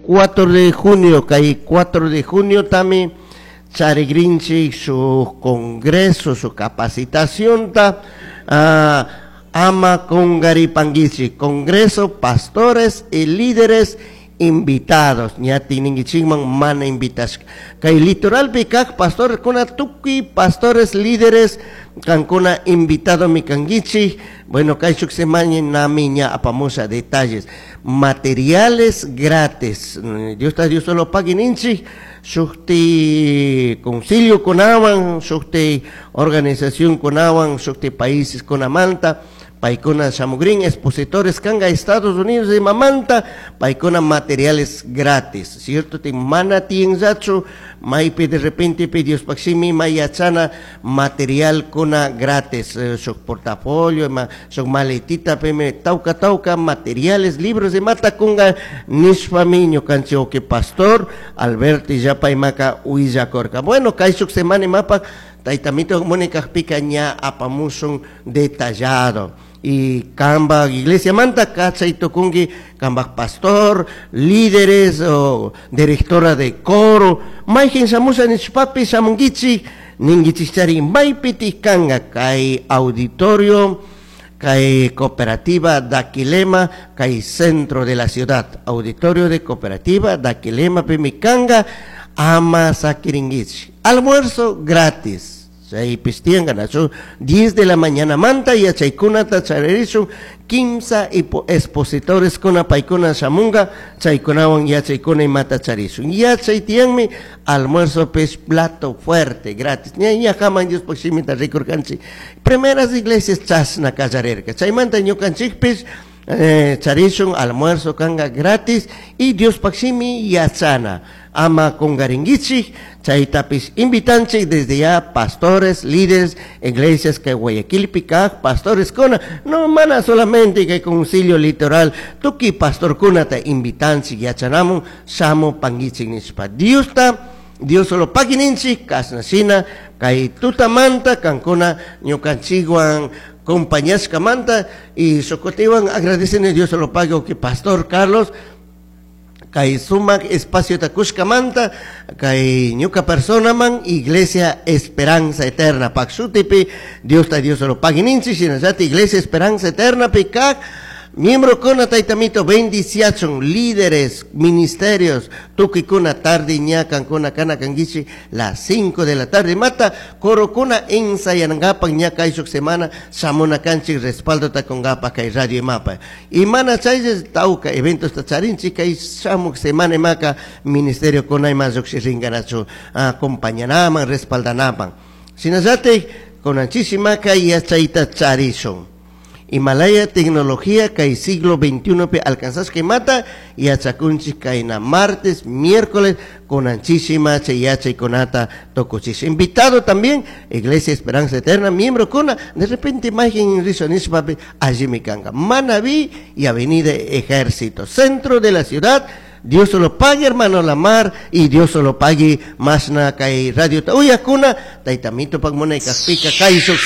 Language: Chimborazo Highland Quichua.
4 de junio, kay 4 de junio tami charigrinchik su congreso, su capacitación ta ama kungaripanguichik, congreso, pastores y líderes invitados, ñati ninguichikman mana invitashka. Kay litoralpi kak pastores kuna tukuy pastores líderes kankuna invitado mi kanguichik. Bueno, kay shuk semana nami ña apamusha detalles, materiales gratis. Dios ta Dios solo pague ninchik, shukti concilio kunawan, shukti organización kunawan, shukti países kunamanta, paykuna shamugrin expositores kanga Estados Unidos de mamanta, paykuna materiales gratis, cierto? Ti mana tienzachu, maypi de repente pi Dios paximi mayachana material kuna gratis, shuk portafolio, ma, shuk maletita peme tauka tauka materiales, libros de mata kunga nishpami ñukanchik que pastor Alberto Illapa imaka huillakorka. Bueno, kay shuk semana imapa taytamito Mónica pika ña apamusun detallado. Y kamba iglesia manta kachay tukunki kamba pastor, líderes o directora de coro, mayjin shamusha nishpapi shamunkichik ninkichikchari maypiti kanga kay auditorio, kay cooperativa Daquilema, kay centro de la ciudad, auditorio de cooperativa Daquilema pimikanga ama sakiringichi. Almuerzo gratis. Chaypis tiyanka nachu 10 de la mañana manta y chaykunata charerishun 15 expositores kuna paykuna shamunga chaykunawan yachaykuna imata charishun. Yachay tiyanmi almuerzo pes plato fuerte gratis. Ña ña haman Dios shimita rikurkanchik. Primeras iglesias chasna kallarerka. Chaymanta ñukanchikpis, charishun almuerzo kanga gratis y Dios paximi yachana. Ama kungaringuichik, chaytapis invitanchik desde ya pastores, líderes, iglesias que Guayaquil kaj, pastores kuna, no mana solamente que concilio litoral, tuki pastor kuna ta invitanchik yachanamun, shamu panguichik nishpa. Dios ta, Dios solo pagininchik, kasnashina, kay tutamanta, kankuna, ñukanchikwan, compañías manta y socotiwan agradecen a Dios solo pago que pastor Carlos kay sumak espacio takushkamanta kay ñuka persona man Iglesia Esperanza Eterna paksutipi Dios ta Dios solo pagininchi shinallati Iglesia Esperanza Eterna pikak miembro kuna taytamito bendiciachon líderes ministerios tukikuna tarde ñakan kuna kana kangichi las 5 de la tarde mata coro kuna ensayangapak ñaka ishuk semana shamuna kanchik respaldo takongapa kay radio mapa y mana chayes tauka eventos tacharinchi kay shamuk semana maka ministerio kuna ima lluqshi rinkanachu acompañanaman respaldanaman shinallati kunanchisimaka yachayta charishun. Himalaya tecnología kay siglo veintiuno pe alcanzas que mata y achakunchi kaina martes, miércoles con anchísima cheyachay conata tocuchis. Invitado también Iglesia Esperanza Eterna, miembro cona, de repente imagen rizonispa allí mi canga. Manabí y Avenida Ejército, centro de la ciudad. Dios solo pague, hermano Lamar, y Dios solo pague, más na kay radio. Uy, akuna, taitamito pag muna ikaspika, kay